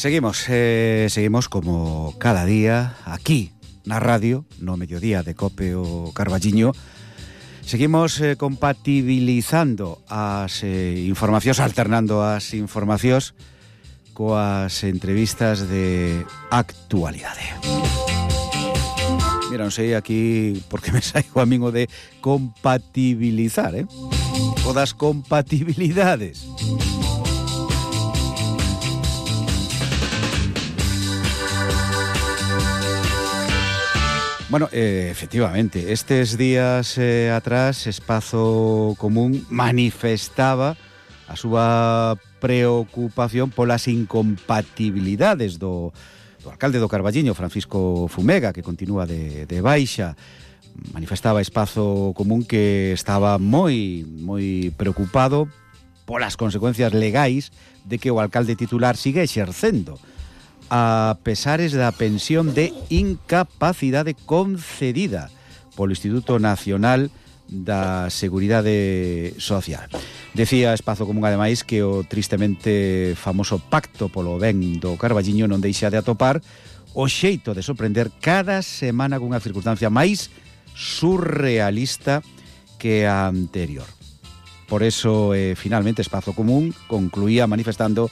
Seguimos como cada día aquí na radio, no mediodía de Cope o Carballiño. Seguimos compatibilizando as informacións, alternando as informacións coas entrevistas de actualidade. Mira, non sei aquí porque me saigo a min o de compatibilizar, o das compatibilidades. Bueno, efectivamente, estes días atrás Espazo Común manifestaba a súa preocupación polas incompatibilidades do alcalde do Carballiño, Francisco Fumega, que continúa de baixa. Manifestaba Espazo Común que estaba moi preocupado polas consecuencias legais de que o alcalde titular sigue exercendo a pesares da pensión de incapacidade concedida polo Instituto Nacional da Seguridade Social. Decía Espazo Común, ademais, que o tristemente famoso pacto polo ben do Carballiño non deixa de atopar o xeito de sorprender cada semana cunha circunstancia máis surrealista que a anterior. Por eso, finalmente, Espazo Común concluía manifestando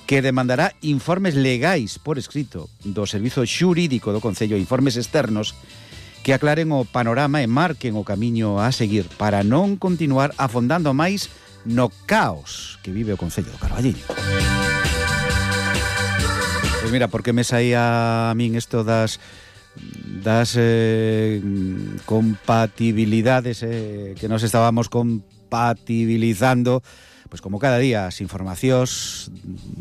que demandará informes legais por escrito do Servizo Xurídico do Concello, informes externos que aclaren o panorama e marquen o camiño a seguir para non continuar afondando máis no caos que vive o Concello do Carballiño. Pois mira, porque me saía a min isto das compatibilidades que nos estábamos compatibilizando. Pois como cada día as informacións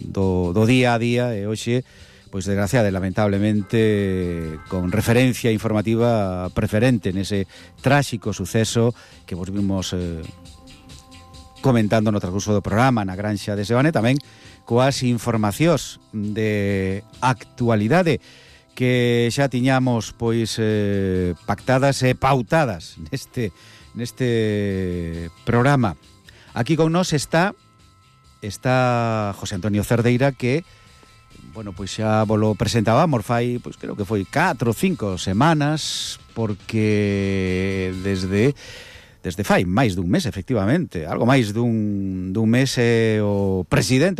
do día a día e hoxe, pois desgraciada e lamentablemente con referencia informativa preferente nese tráxico suceso que vos vimos comentando no transcurso do programa na Granxa de Sebane, tamén coas informacións de actualidade que xa tiñamos pois pactadas e pautadas neste programa. Aquí con nós está José Antonio Cerdeira, que, bueno, pois xa volo presentábamos fai, pois creo que foi 4 ou 5 semanas, porque desde fai máis dun mes, efectivamente, algo máis dun mes, o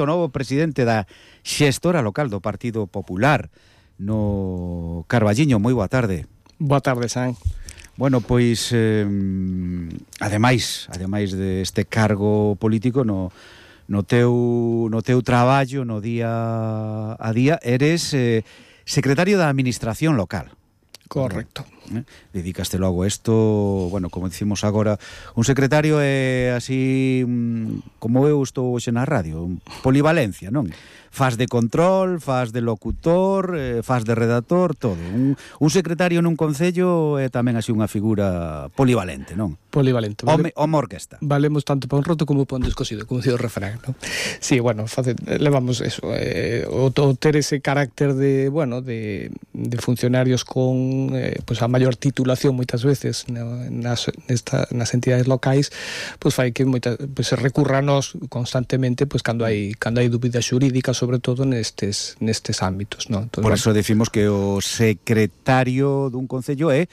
novo presidente da xestora local do Partido Popular no Carballiño. Moi boa tarde. Boa tarde, San. Bueno, pois, ademais deste cargo político no teu traballo, no día a día, eres secretario da Administración Local. Correcto. Dedicaste logo a isto, bueno, como dicimos agora, un secretario é así, como eu estou hoxe na radio, polivalencia, non? Faz de control, faz de locutor, faz de redactor, todo. Un secretario nun concello é tamén así unha figura polivalente, non? Polivalente. Home orquesta. Valemos tanto para un roto como para un descosido, como dice o refrán, non? Sí, bueno, levamos eso, o ter ese carácter de, bueno, de funcionarios con pues a maior titulación moitas veces nas entidades locais, pues fai que pues se recurra a nós constantemente pues cando hai dúbidas xurídicas, sobre todo nestes ámbitos, non? Entonces, por eso decimos que o secretario dun concello é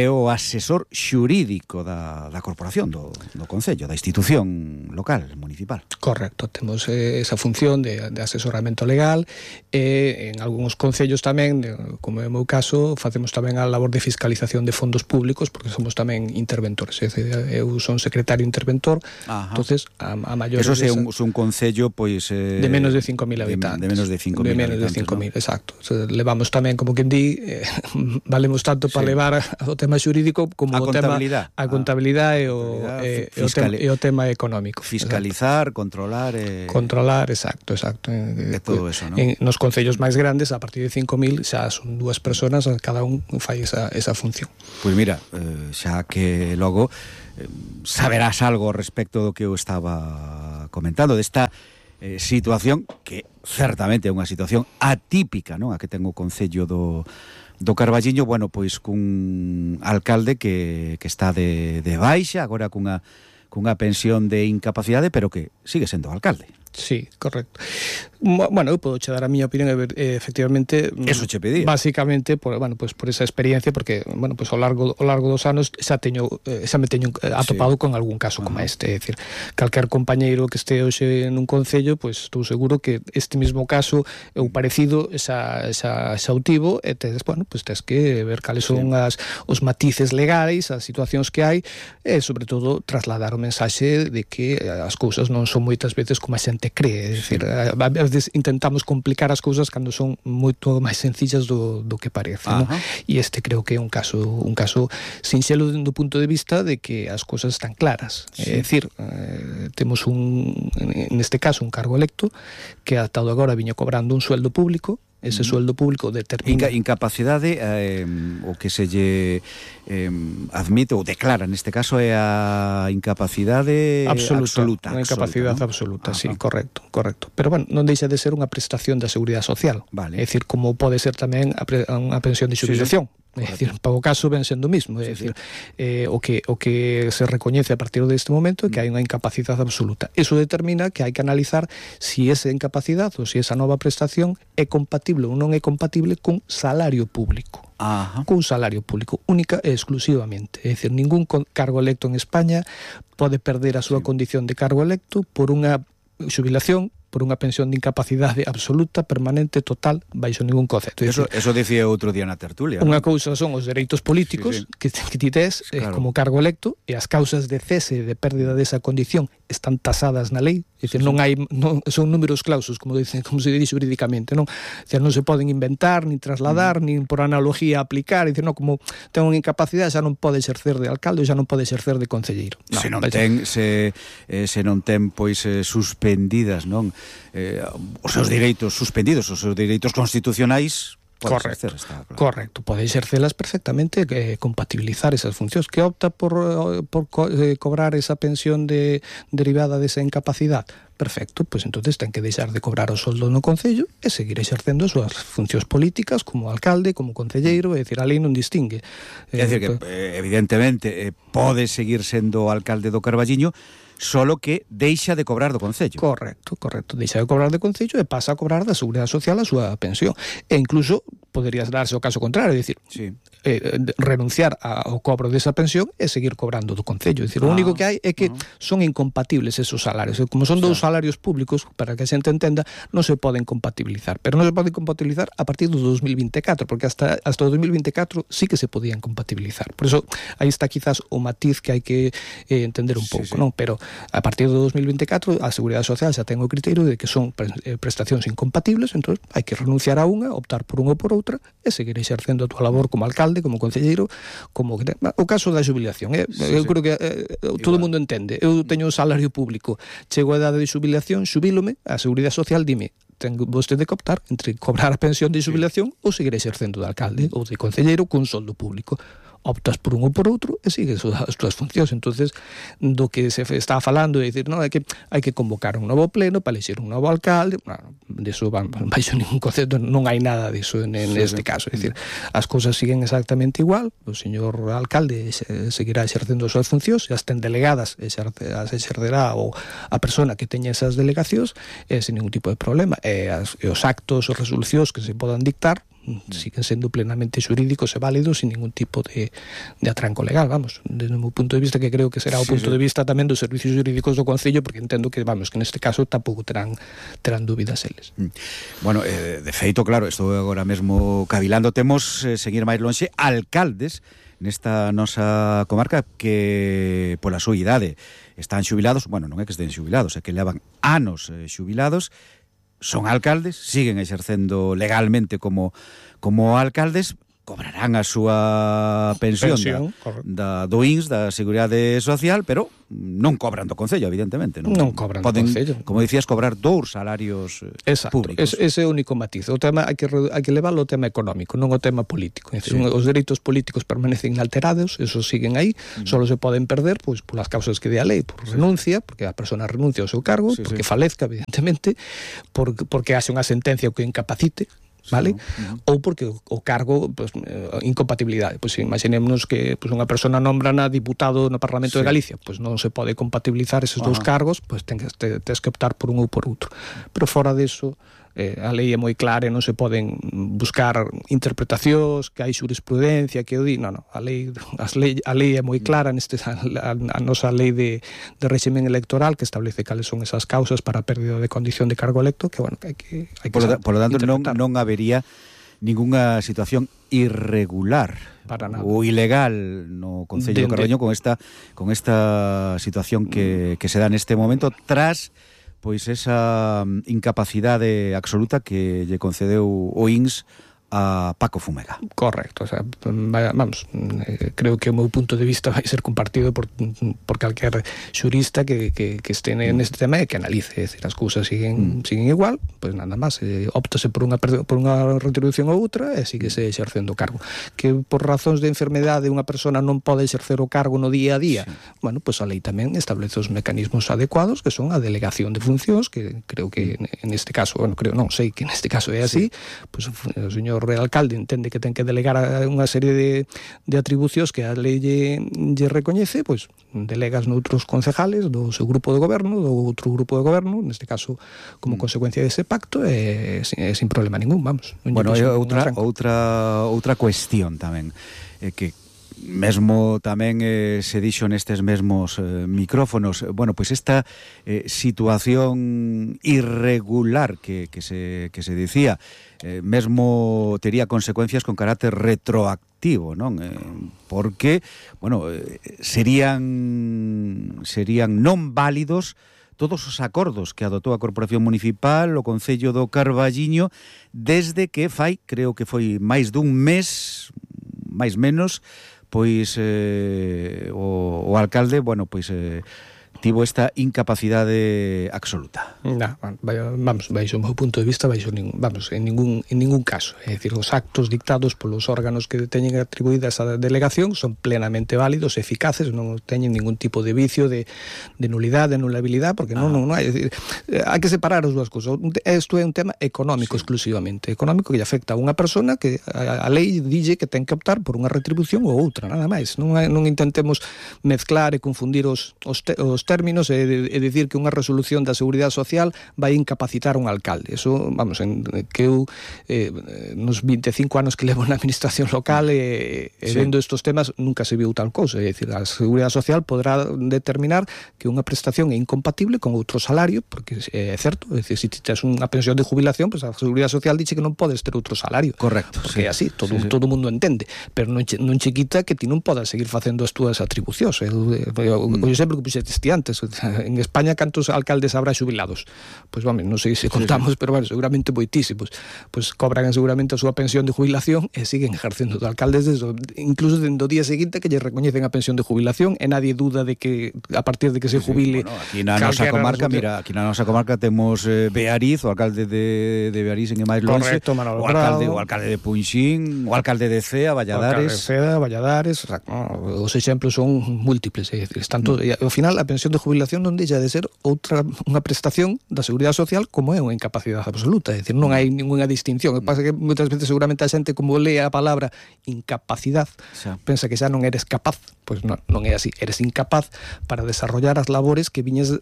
o asesor xurídico da corporación, do concello, da institución local, municipal. Correcto, temos esa función de asesoramento legal e en algúns concellos tamén, como é o meu caso, facemos tamén a labor de fiscalización de fondos públicos, porque somos tamén interventores, eu son secretario interventor. Ajá. Entonces a maior... Eso é un concello, pois... de menos de 5.000 habitantes. De menos de 5.000 habitantes, 5.000, exacto. O sea, levamos tamén, como quen di, valemos tanto para levar o tema xurídico como a contabilidade e o tema económico. Fiscalizar, controlar... Controlar, exacto. De todo eso, ¿no? Nos concellos máis grandes, a partir de 5.000, xa son 2 personas, cada un fai esa función. Pois mira, xa que logo saberás algo respecto do que eu estaba comentando, desta situación que certamente é unha situación atípica, non? A que ten o concello do Carballiño, bueno, pois cun alcalde que está de baixa, agora cunha pensión de incapacidade, pero que sigue sendo alcalde. Sí, correcto. Bueno, eu podo che dar a miña opinión, efectivamente, eso che pedía. Básicamente por esa experiencia, porque, bueno, pues ao largo dos anos xa me teño atopado con algún caso como este, é dicir, calquer compañeiro que este hoxe nun concello, pues estou seguro que este mismo caso ou parecido xa o tivo, e tes que ver cales son os matices legais, as situacións que hai, e sobre todo trasladar o mensaxe de que as cousas non son moitas veces como a xente cree, é dicir, a veces intentamos complicar as cousas cando son moito máis sencillas do que parece, non? E este creo que é un caso sinxelo do punto de vista de que as cousas están claras, é dicir, temos neste caso un cargo electo que ata agora viña cobrando un sueldo público. Ese sueldo público determina... Incapacidade, o que se lle admite ou declara neste caso é a incapacidade absoluta. Unha incapacidade absoluta, sí, correcto. Pero, bueno, non deixa de ser unha prestación da Seguridade Social. Vale. É dicir, como pode ser tamén unha pensión de xubilación. É dicir, para o caso ven sendo o mismo, é dicir, o que se recoñece a partir deste momento é que hai unha incapacidade absoluta. Eso determina que hai que analizar si esa incapacidade ou si esa nova prestación é compatible ou non é compatible con salario público. Cun salario público, única e exclusivamente. É dicir, ningún cargo electo en España pode perder a súa condición de cargo electo por unha xubilación, por unha pensión de incapacidade absoluta, permanente, total, baixo ningún concepto. Eso dicía outro día na tertulia. Unha cousa son os dereitos políticos que ti tes como cargo electo, e as causas de cese, de pérdida desa condición, están tasadas na lei. É dicir, son números clausos, como se dice jurídicamente, non? É dicir, non se poden inventar, ni trasladar, ni por analogía aplicar. É dicir, non, como ten unha incapacidade, xa non pode exercer de alcalde, xa non pode exercer de concelleiro. Se non ten pois suspendidas, non? Os seus direitos suspendidos, os seus direitos constitucionais. Correcto, pode exercelas perfectamente, compatibilizar esas funcións. Que opta por cobrar esa pensión derivada desa incapacidade, perfecto, pois entonces ten que deixar de cobrar o soldo no concello e seguir exercendo as súas funcións políticas como alcalde, como concelleiro, é dicir, a lei non distingue. É dicir, que evidentemente pode seguir sendo alcalde do Carballiño, solo que deixa de cobrar do Concello. Correcto, deixa de cobrar do Concello e pasa a cobrar da Seguridade Social a súa pensión. E incluso poderías darse o caso contrario, é dicir, renunciar ao cobro desa pensión e seguir cobrando do Concello. É dicir, o único que hai é que son incompatibles esos salarios. Como son dous salarios públicos, para que a xente entenda, non se poden compatibilizar. Pero non se poden compatibilizar a partir do 2024, porque hasta o 2024 sí que se podían compatibilizar. Por eso, aí está quizás o matiz que hai que entender un pouco, non? Pero a partir do 2024 a Seguridade Social xa ten o criterio de que son prestacións incompatibles, entón hai que renunciar a unha, optar por unha ou por outra e seguir exercendo a túa labor como alcalde, como concelleiro, como o caso da xubilación. Eu creo que todo o mundo entende. Eu teño un salario público, chego a idade de xubilación, xubilome, a Seguridade Social dime, ten vostede que optar entre cobrar a pensión de xubilación ou seguir exercendo de alcalde ou de concelleiro cun soldo público. Optas por un ou por outro e sigues as túas funcións. Entonces, do que se está falando é dicir, non, é que hai que convocar un novo pleno para elixir un novo alcalde. Bueno, deso baixo ningún concepto, non hai nada diso neste caso. É dicir, as cousas siguen exactamente igual. O señor alcalde seguirá exercendo as súas funcións, e as ten delegadas, as exercerá a persona que teña esas delegacións, sen ningún tipo de problema. E os actos, as resolucións que se podan dictar siguen sendo plenamente xurídicos e válidos sin ningún tipo de atranco legal, vamos, desde o meu punto de vista, que creo que será o punto de vista tamén dos servicios xurídicos do Concello, porque entendo que, vamos, que neste caso tampouco terán dúbidas eles. Bueno, de feito, claro, estou agora mesmo cavilando, temos, seguir máis lonxe, alcaldes nesta nosa comarca que pola súa idade están xubilados, bueno, non é que estén xubilados, é que levan anos xubilados, son alcaldes, siguen exercendo legalmente como alcaldes, cobrarán a súa pensión do INS, da Seguridade Social, pero non cobran do Concello, evidentemente. Non cobran do Concello. Como dicías, cobrar dous salarios públicos. Ese é o único matiz. O tema hai que leválo ao tema económico, non ao tema político. Os dereitos políticos permanecen inalterados, esos siguen aí, só se poden perder pois polas causas que dé a lei, por renuncia, porque a persona renuncia ao seu cargo, porque falezca, evidentemente, porque haxe unha sentencia que o incapacite. vale? Ou porque o cargo, pues, incompatibilidade. Pois imaginémonos que pues, unha persona nombrana diputado no Parlamento de Galicia, pois non se pode compatibilizar esos dous cargos, pois tens que optar por un ou por outro. Pero fora deso, a lei é moi clara e non se poden buscar interpretacións, que hai xurisprudencia que o di, non, a lei é moi clara a nosa lei de réximen electoral que establece cales son esas causas para a pérdida de condición de cargo electo, que bueno, que hai que por lo tanto non habería ningunha situación irregular ou ilegal no Concello de Carballiño con esta situación que se dá neste momento tras pois esa incapacidade absoluta que lle concedeu o INS a Paco Fumega. Correcto, o sea, vamos, creo que o meu punto de vista vai ser compartido por calquer xurista que este neste tema e que analice, decir, as cousas siguen igual, pois nada máis, óptase por unha retribución ou outra e síguese exercendo o cargo. Que por razóns de enfermedade unha persona non pode exercer o cargo no día a día, bueno, pois a lei tamén establece os mecanismos adecuados que son a delegación de funcións, que creo que neste caso, bueno, sei que neste caso é así, pois o señor Real Alcalde entende que ten que delegar unha serie de atribucións que a lei lle recoñece, pois delegas noutros concejales do seu grupo de goberno, do outro grupo de goberno, neste caso como consecuencia dese pacto, sin problema ningún, vamos. Bueno, outra cuestión tamén, que mesmo tamén se dixo nestes mesmos micrófonos, bueno, pois esta situación irregular que se dicía, mesmo tería consecuencias con carácter retroactivo, non? Porque, bueno, serían non válidos todos os acordos que adotou a Corporación Municipal, o Concello do Carballiño, desde que creo que foi máis dun mes, máis menos, pois o alcalde, bueno, pois tivo esta incapacidade absoluta. Vamos, baixo o meu punto de vista, en ningún caso. É dicir, os actos dictados polos órganos que teñen atribuída esa delegación son plenamente válidos, eficaces, non teñen ningún tipo de vicio, de nulidade, de nulabilidade, porque non hai. Decir, hai que separar as dúas cousas. Isto é un tema económico exclusivamente, económico que lle afecta a unha persona que a lei dille que ten que optar por unha retribución ou outra, nada máis. Non intentemos mezclar e confundir os términos e dicir que unha resolución da Seguridade Social vai incapacitar un alcalde. Eso, vamos, que eu nos 25 anos que levo na administración local vendo estos temas nunca se viu tal cousa. É dicir, a Seguridade Social podrá determinar que unha prestación é incompatible con outro salario, porque é certo, é dicir, se tes unha pensión de jubilación, pues a Seguridade Social dixe que non podes ter outro salario. Correcto. Porque é así, todo o mundo entende, pero non che quita que ti non podas seguir facendo as túas atribucións. O exemplo que puxete antes, en España cantos alcaldes habrá xubilados? Pois, vamos, non sei se contamos, pero bueno, seguramente moitísimos. Pois cobran seguramente a súa pensión de jubilación e siguen ejercendo de alcaldes incluso dentro do día seguinte que lle recoñecen a pensión de jubilación e nadie duda de que a partir de que se jubile. Bueno, aquí na nosa comarca, aquí na nosa comarca temos Beariz, o alcalde de Beariz en máis longe, o alcalde de Punxín, o alcalde de Cea, Valladares. Valladares, os exemplos son múltiples, están todo, e ao final a pensión de jubilación non deixa de ser unha prestación da Seguridade Social como é unha incapacidade absoluta, é dicir, non hai ninguna distinción. O que pasa é que moitas veces seguramente a xente como lee a palabra incapacidade pensa que xa non eres capaz, pois non é así, eres incapaz para desarrollar as labores que viñes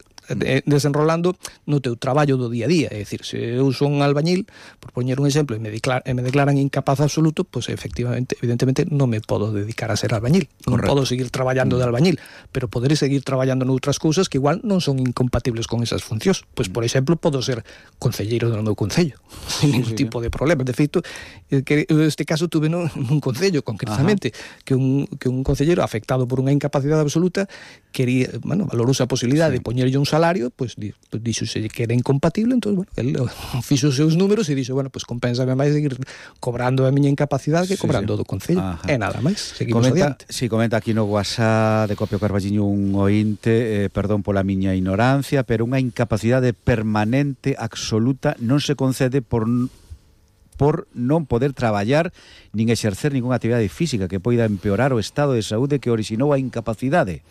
desenrolando no teu traballo do día a día. É dicir, se eu son albañil, por poñer un exemplo, e me declaran incapaz absoluto, pois evidentemente non me podo dedicar a ser albañil, non podo seguir traballando de albañil, pero poderé seguir traballando noutras cousas que igual non son incompatibles con esas funcións. Pois, por exemplo, podo ser concelleiro do meu concello sin ningún tipo de problema. De feito, este caso tuve nun concello concretamente que un concelleiro afectado por unha incapacidade absoluta quería, valorouse a posibilidade de poñerlle un salario, pois dixose que era incompatible, entón, el fixo os seus números e dixo, pois compénsame máis seguir cobrando a miña incapacidade que cobrando do concello. E nada máis, seguimos adiante. Comenta aquí no WhatsApp de Copio Carballiño un ointe, perdón pola miña ignorancia, pero unha incapacidade permanente absoluta non se concede por non poder traballar nin exercer ningunha actividade física que poida empeorar o estado de saúde que orixinou a incapacidade,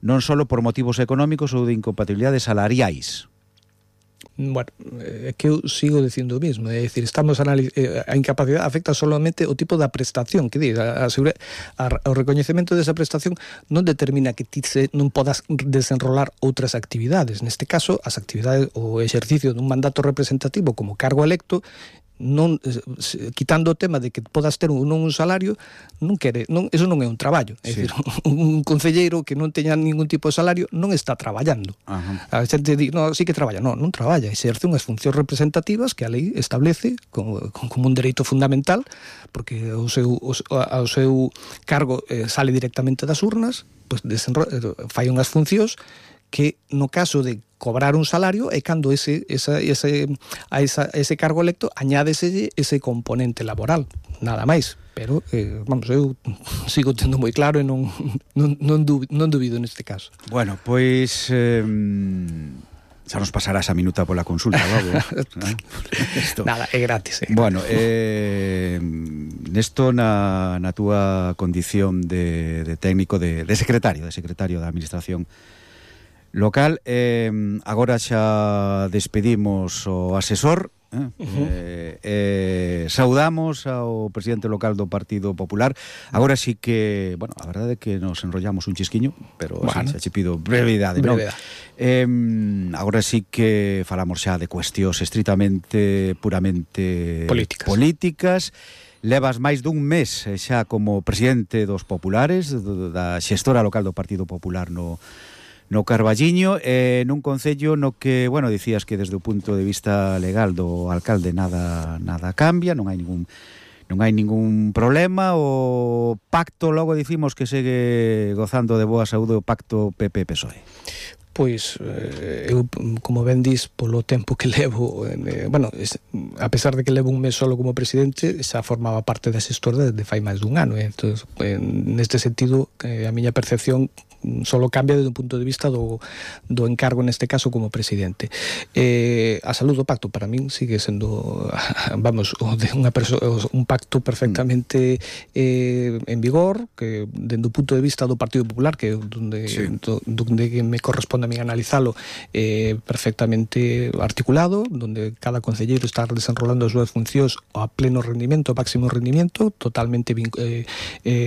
non só por motivos económicos ou de incompatibilidades salariais. Bueno, é que eu sigo dicindo o mismo, é dicir, estamos a incapacidade afecta solamente o tipo da prestación, que diz, o recoñecemento desa prestación non determina que ti non podas desenrolar outras actividades. Neste caso, as actividades, o exercicio dun mandato representativo como cargo electo, non, quitando o tema de que podas ter un salario, eso non é un traballo. É dicir, un concelleiro que non teña ningún tipo de salario non está traballando. A xente di, no, sí que traballa. Non traballa, exerce unhas funcións representativas que a lei establece como un dereito fundamental, porque o seu cargo sale directamente das urnas, pois fai unhas funcións que no caso de cobrar un salario é cando a ese cargo electo añádese ese componente laboral, nada máis. Pero, vamos, eu sigo tendo moi claro e non dubido neste caso. Bueno, pois xa nos pasará esa minuta pola consulta, logo. Nada, é gratis. Bueno, nesto na túa condición de técnico, de secretario da Administración local, agora xa despedimos o asesor, saudamos ao presidente local do Partido Popular. Agora sí que, bueno, a verdade é que nos enrollamos un chisquiño, pero xa che pido brevidade, non? Agora sí que falamos xa de cuestións estritamente, puramente políticas. Levas máis dun mes xa como presidente dos populares, da xestora local do Partido Popular no Carballiño, nun concello no que, bueno, dicías que desde o punto de vista legal do alcalde nada cambia, non hai ningún problema. O pacto, logo dicimos que segue gozando de boa saúde, o pacto PP-PSOE. Pois, eu, como ben dis, polo tempo que levo, bueno, a pesar de que levo un mes solo como presidente, xa formaba parte da xestora desde fai máis dun ano. Entón, neste sentido, a miña percepción solo cambia desde un punto de vista do encargo, neste caso, como presidente. A saúde do pacto, para min, sigue sendo, vamos, un pacto perfectamente en vigor, que, dende o punto de vista do Partido Popular, que é donde me corresponde a min analizalo, perfectamente articulado, donde cada concelleiro está desenrolando as súas funcións a pleno rendimento, a máximo rendimento, totalmente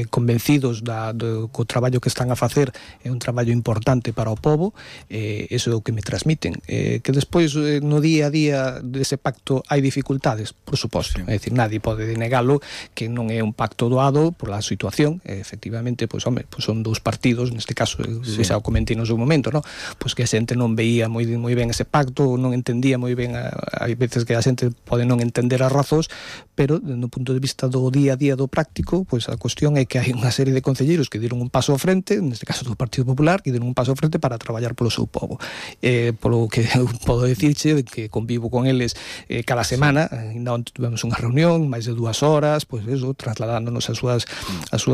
convencidos do traballo que están a facer. É un traballo importante para o povo, eso é o que me transmiten. Que despois, no día a día dese pacto, hai dificultades, por suposto. É dicir, nadie pode denegalo, que non é un pacto doado pola situación. Efectivamente, pois, home, son dous partidos, neste caso, xa o comentei no seu momento, non? Pois que a xente non veía moi ben ese pacto, non entendía moi ben, hai veces que a xente pode non entender as razóns, pero, no punto de vista do día a día do práctico, pois a cuestión é que hai unha serie de concelleiros que deron un paso ao frente, neste caso do Partido Popular, que deron un paso ao frente para traballar polo seu povo. Polo que eu podo dicirche, que convivo con eles cada semana, ainda onte tivemos unha reunión, máis de 2 horas, pois eso, trasladándonos a súa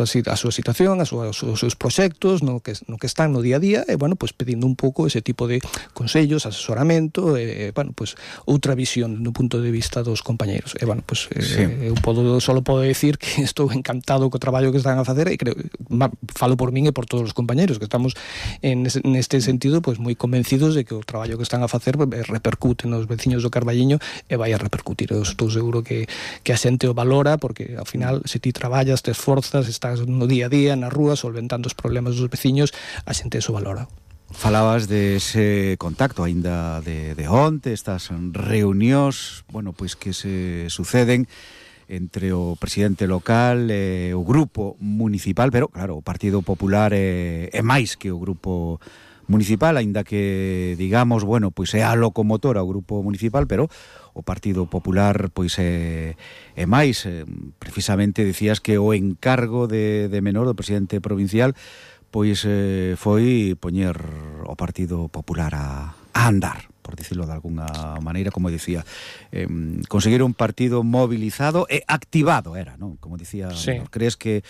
situación, os seus proxectos, no que están no día a día, e, bueno, pois pedindo un pouco ese tipo de consellos, asesoramento, bueno, pois outra visión no punto de vista dos compañeiros. E, bueno, pois eu solo podo decir que estou encantado co traballo que están a facer, e creo, falo por min e por todos os compañeiros, que estamos neste sentido pois moi convencidos de que o traballo que están a facer repercute nos veciños do Carballiño e vai a repercutir. Eu estou seguro que a xente o valora, porque ao final, se ti traballas, te esforzas, estás no día a día na rúa solventando os problemas dos veciños, a xente eso valora. Falabas de ese contacto aínda de onte, estas reunións, bueno, pois que se suceden entre o presidente local e o grupo municipal, pero, claro, o Partido Popular é máis que o grupo municipal, aínda que, digamos, bueno, pois é a locomotora o grupo municipal, pero o Partido Popular, pois é máis. Precisamente dicías que o encargo de menor do presidente provincial, pois foi poñer o Partido Popular a andar, por dicirlo de alguna maneira, como dicía, conseguir un partido mobilizado e activado era, non? Como dicía, sí. Crees que,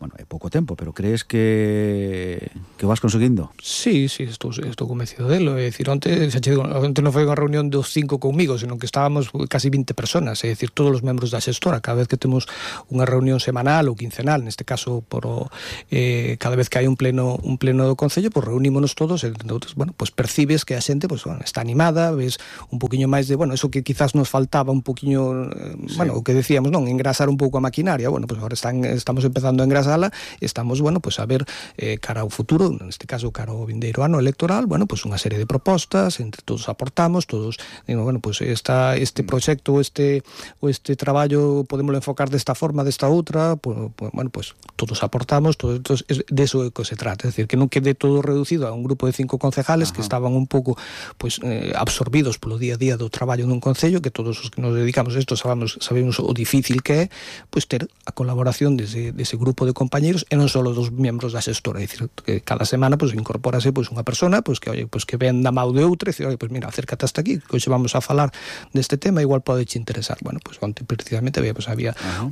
bueno, é pouco tempo, pero crees que o vas conseguindo? Sí, estou convencido delo. É dicir, onte non foi unha reunión dos 5 conmigo, senón que estábamos casi 20 personas, é dicir, todos os membros da xestora. Cada vez que temos unha reunión semanal ou quincenal, neste caso cada vez que hai un pleno do Concello, pues reunímonos todos, e entonces, bueno, pues percibes que a xente pues, bueno, está animada, ves un poquinho máis de, bueno, eso que quizás nos faltaba un poquinho, bueno, o que decíamos, non, engrasar un pouco a maquinaria. Bueno, pues ahora estamos empezando a engrasala, estamos, bueno, pues a ver cara ao futuro, neste caso cara ao vindeiro ano electoral, bueno, pues unha serie de propostas, entre todos aportamos, todos, digo, bueno, pues este proxecto, este traballo podémoslo enfocar desta forma, desta outra, pues, bueno, pues todos aportamos, todos, de eso que se trata, es decir, que non quede todo reducido a un grupo de 5 concejales que estaban un pouco pues absorbidos polo día a día do traballo dun concello, que todos os que nos dedicamos a isto sabemos o difícil que é, pues ter a colaboración dese grupo de compañeiros e non só dos membros da xestora, é dicir, que cada semana pues incorpórase pues unha persona pues que oye, pues que ven da mau de outra e dice, oye, pues mira, acércate hasta aquí, que hoxe vamos a falar deste tema, igual pode te interesar. Bueno, pues onte precisamente había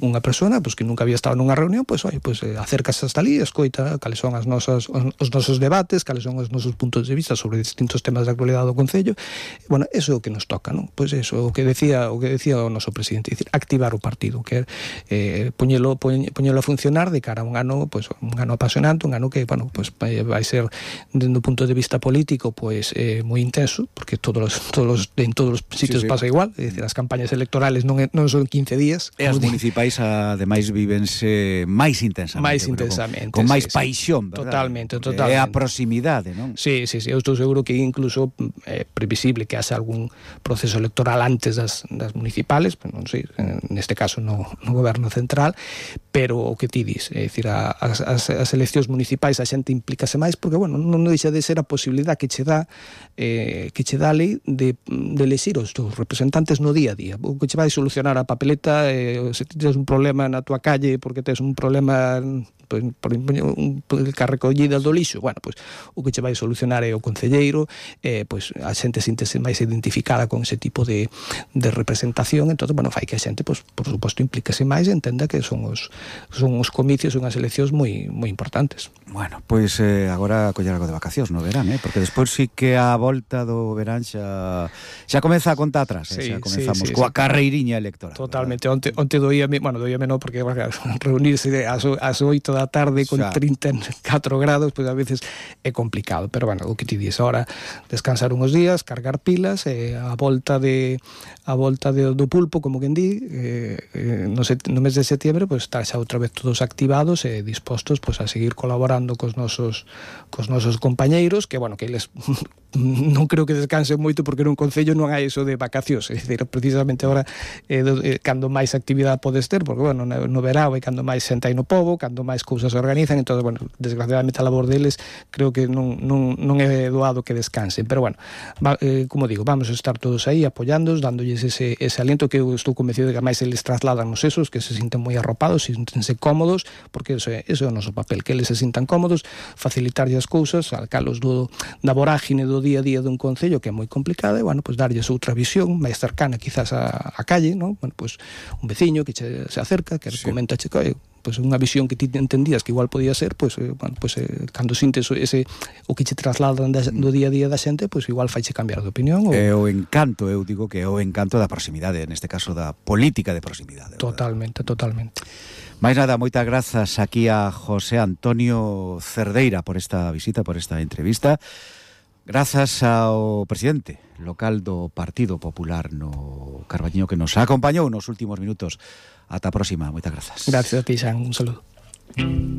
unha persona pues que nunca había estado nunha reunión, pues oye, pues acércase hasta ali, escoita cales son os nosos debates, cales son os nosos puntos de vista sobre distintos temas da actualidade do Concello. Bueno, eso é o que nos toca, non? Pois eso, o que decía o noso presidente, dicir, activar o partido, que poñelo a funcionar de cara a un ano, pues un ano apasionante, un ano que, bueno, pues vai ser dende o punto de vista político, pues moi intenso, porque en todos os sitios pasa igual, é dicir, as campañas electorales non son 15 días. E as municipais ademais vívense máis intensamente, con máis paixón, verdad? Totalmente. É a proximidade, non? Sí, eu estou seguro que incluso é previsible que haxa algún proceso electoral antes das municipales, pero non sei, neste caso no goberno central, pero o que ti dis, é dicir, as eleccións municipais a xente implícase máis, porque, bueno, non deixa de ser a posibilidade que che dá a lei de elexir os teus representantes no día a día, o que che vai solucionar a papeleta, se tens un problema na tua calle porque tes un problema por a recollida do lixo, bueno, pues o que che vai solucionar é o concelleiro, pues a xente síntese máis identificada con ese tipo de representación, entón, bueno, fai que a xente, pues, por suposto, implíquese máis e entenda que son os comicios, son as eleccións moi importantes. Bueno, pois agora coller algo de vacacións no verán, porque despois sí que a volta do verán xa comeza a conta atrás, xa comezamos coa carreiriña electoral. Totalmente, onte doíame non, porque reunirse ás 8 da tarde con 34 grados, pues a veces é complicado, pero bueno, o que ti dis ahora, descansar uns días, cargar pilas, a volta do pulpo, como quen di, no mes de setiembre, pues estar xa outra vez todos activados e dispostos pues a seguir colaborando cos nosos compañeiros, que bueno, que eles non creo que descansen moito porque nun concello non hai eso de vacacións, é dicir, precisamente agora cando máis actividade podes ter, porque bueno, no verao é cando máis xente hai no pobo, cando máis cousas se organizan, entón, bueno, desgraciadamente a labor deles creo que non é doado que descansen, pero bueno, como digo, vamos a estar todos aí apoyándoos, dándolles ese aliento que eu estou convencido de que máis eles trasladan nos esos, que se sinten moi arropados, sintense cómodos, porque eso é o noso papel, que eles se sintan cómodos, facilitarlle as cousas, alcalos da vorágine do día a día dun concello que é moi complicado, e bueno, pues darlles outra visión máis cercana quizás a calle, ¿no? Bueno, pues un veciño que se acerca, que comenta, pues unha visión que ti entendías que igual podía ser, pues bueno, pues cando sintes o que che trasladan do día a día da xente, pues igual faiche cambiar de opinión. É o encanto, eu digo que é o encanto da proximidade, neste caso da política de proximidade. Totalmente. Mais nada, moitas grazas aquí a José Antonio Cerdeira por esta visita, por esta entrevista. Grazas ao presidente local do Partido Popular no Carballiño que nos acompañou nos últimos minutos. Ata a próxima, moitas grazas. Gracias a ti, Xan, un saludo.